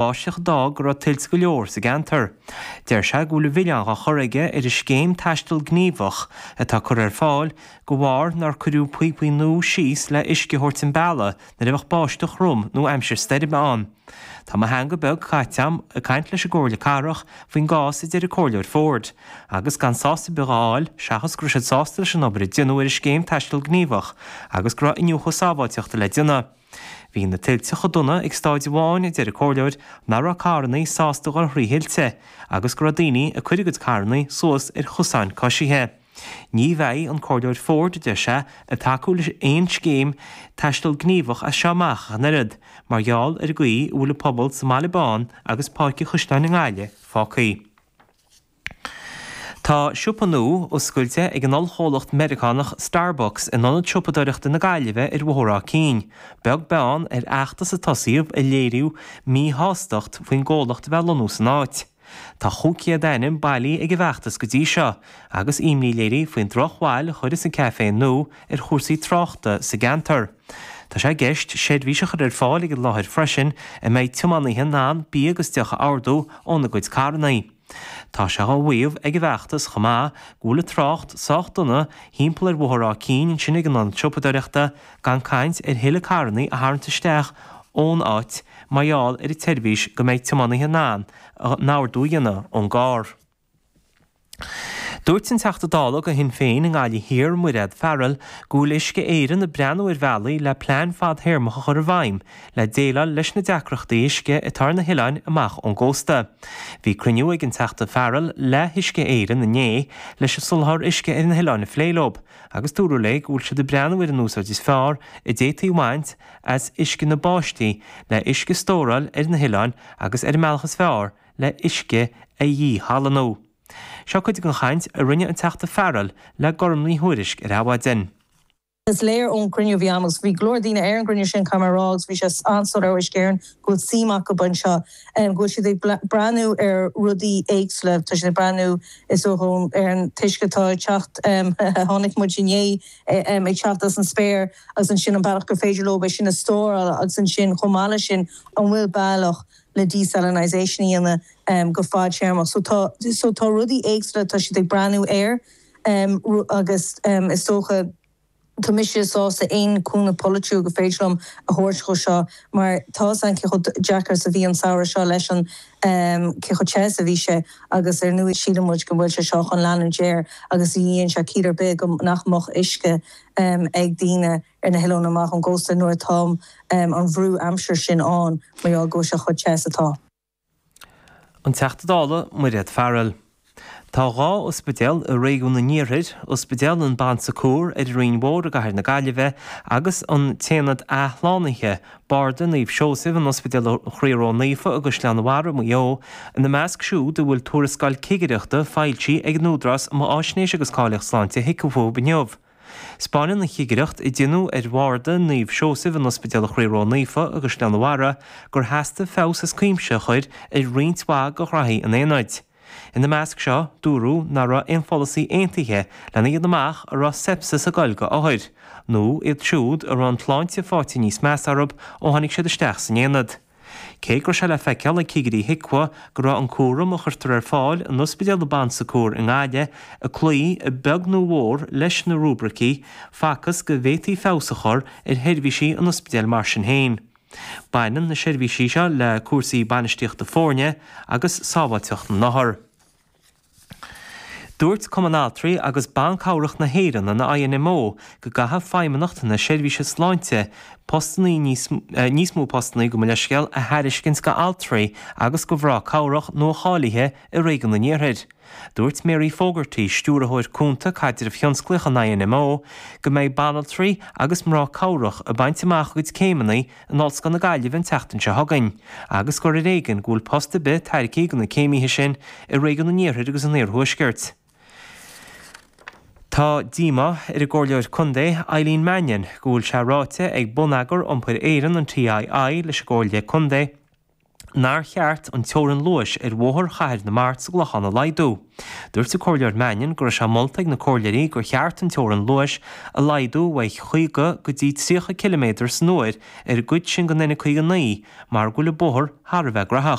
Báisteach a d'fhág go raibh tuilte go leor sa gceantar. Deir sé go bhfuil an milleán á chur aige ar an scéim Taisteal Gníomhach atá curtha ar fáil de bharr nár cuireadh píopaí nua síos le uisce a thabhairt an bealaigh nuair a bheadh báisteach throm nó aimsir stoirme ann. Tá mo theanga beag caite agam ag caint leis an gComhairle Cathrach faoin gcás a deir an Comhairleoir Forde agus gan sásamh ar bith á fháil seachas go raibh siad sásta leis an obair a déanadh ar an scéim Taisteal Gníomhach agus go raibh iniúchadh sábháilteachta le déanamh. Bhí na tuilte chomh dona ag stáid amháin, a deir an comhairleoir, nach raibh carrannaí sásta dhul thrí thuilte agus go raibh daoine ag cur a gcuid carrannaí suas ar chosáin coisithe. Ní bheidh an Comhairleoir Forde, a deir sé, ag tacú le aon scéim taisteal gníomhach as seo amach ach an oiread, mar gheall ar an gcaoi a bhfuil an pobal sa mBaile Bán agus Páirc an Chaisleáin i nGaillimh fágtha. Tá siopa nua oscailte ag an ollchomhlacht Meiriceánach Starbucks in Ionad Siopadóireachta na Gaillimhe ar Bhóthar Áth Cinn, beag beann ar fheachtas a tosaíodh ag léiriú míshástacht faoin gcomhlacht a bheith ag lonnú san áit. Tá 500 ainm bailithe ag an bhfeachtas go dtí seo agus imní léirithe faoin drochbhail a chuirfeas an caifé nua ar chúrsaí tráchta sa gceantar. Tá sé i gceist seirbhís a chur ar fáil ag an láthair freisin a mbeidh tiománaithe in ann bia agus deoch a ordú óna gcuid carranna. Tá sé á mhaíomh ag an bhfeachtas chomh maith go bhfuil an trácht sách dona thimpeall ar Bhóthar Áth Cinn ansin ag an ionad siopadóireachta, gan caint ar thuilleadh carrannaí a tharraingt isteach ón áit mar gheall ar an tseirbhís go mbeidh tiománaithe in ann a n-ordú a dhéanamh ón gcarr. Dúirt an Teachta Dála do Shinn Féin i nGaillimh Thiar, Mairéad Farrell, go bhfuil Uisce Éireann ag breathnú ar bhealaí le plean fadthéarmach a chur i bhfeidhm le déileáil leis na deacrachtaí uisce atá ar na hoileáin amach ón gcósta. Bhí cruinniú ag an Teachta Farrell le hUisce Éireann inné leis an soláthar uisce ar na hoileáin a phlé leo agus dúradh léi go bhfuil siad ag breathnú ar an úsáid is fearr a d'fhéadfaí a bhaint as uisce na báistí le uisce a stóráil ar na hoileáin agus ar an mbealach is fearr le huisce a dhíshalannú. Seo cuid den chaint a rinne an Teachta Farrell le Gormfhlaith Ní Thuairisg ar Adhmhaidin. Is léir ón gcruinniú a bhí agam, agus bhí go leor daoine ar an gcruinniú sin, caithfidh mé a rá, agus bhí sé an-soiléir ó Uisce Éireann go bhfuil suim acu anseo, go bhfuil siad ag breathnú ar rudaí éagsúla. Tá siad ag breathnú, is dócha, ar an t-uisce atá ag teacht, a chonaic muid inné, ag teacht as an spéir, agus ansin an bealach gur féidir leo é sin a stóráil agus ansin, chomh maith leis sin, an bhfuil bealach le desalinisation a dhéanamh go fadtéarmach. So tá, so tá rudaí éagsúla atá siad ag breathnú air agus is dócha tá mise sásta aon cúnamh polaitiúil gur féidir liom a thabhairt dhó seo mar tá 'fhios a'inn cé chomh deacair is a bhí an samhradh seo leis an cé chomh te is a bhí sé agus ar ndóigh síleann muid go bhfuil sé seo chun leanúint air agus ní dhéanann sé ciall ar bith go nach mbeadh uisce ag daoine ar na hoileáin amach ón gcósta nuair atá an bhrú aimsire sin ann mar gheall go bhfuil sé chomh te is atá. An Teachta Dála Mairéad Farrell. Tá 2 ospidéal i réigiún an Iarthair, Ospidéal an Bon Secours ar an Rinn Mhór i gCathair na Gaillimhe agus an tAonad Athshlánaithe, Barda Naomh Seosamh in Ospidéal an Chroí Ró-Naofa i gCaisleán an Bharraigh, Maigh Eo, ina measc siúd a bhfuil tuarascáil cigireachta foilsithe ag an Údarás um Fháisnéis agus Cáilíocht Sláinte HIQA fúthu inniu. 'Spáineann an chigireacht a deineadh ar bharda Naomh Seosamh in Ospidéal an Chroí Ró-Naofa i gCaisleán an Bharraigh gur theastaigh feabhas as cuimse a chur ar roinnt mhaith de ghraithí an aonaid. Ina measc seo, dúradh nach raibh aon pholasaí aontaithe lena dhéanamh amach an raibh sepsis ag goil go othair, nó iad siúd a raibh an tsláinte faighte níos measa orthu ó tháinig siad isteach san aonad. Cé go raibh sé le feiceáil ag cigirí HIQA go raibh an cúram a chuirtear ar fáil in Ospidéal Bon Secours i nGaillimh ag cloí a bheag nó a mhór leis na rúibricí, facthas go bhféadfaí feabhas a chur ar sheirbhísí an ospidéil mar sin féin. Baineann na seirbhísí seo le cúrsaí bainistíochta foirne agus sábháilteacht na n-othar. Dúirt Cumann Altraí agus Ban Cabhrach na hÉireann, an INMO, go gcaithfidh Feidhmeannacht na Seirbhíse Sláinte postannaí níos níos mó postannaí, gabh mo leithscéal, a thairiscint go altraí agus go mhná cabhrach nua-cháilithe i réigiún an Iarthair. Dúirt Mary Fogarty, Stiúrthóir Cúnta Caidrimh Thionsclaíoch an INMO, go mbeidh banaltraí agus mná cabhrach ag baint amach a gcuid céimeanna in Ollscoil na Gaillimhe an tseachtain seo chugainn, agus gur ar éigean go bhfuil post ar bith tairgthe do na céimithe sin i réigiún an Iarthair agus an Iarthuaiscirt. Tá díomá ar an gComhairleoir Contae Eileen Mannion go bhfuil sé ráite ag Bonneagar Iompair Éireann, an TII, leis an gComhairle Contae nár cheart an teorainn luais ar Bhóthar Chathair na Mart sa gClochán a laghdú. Dúirt an Comhairleoir Mannion go raibh sé molta ag na comhairleoirí gur cheart an teorainn luais a laghdú uaidh 50 go dtí 30 ciliméadar san uair ar an gcuid sin den N59 mar go bhfuil an bóthar thar a bheith gnóthach.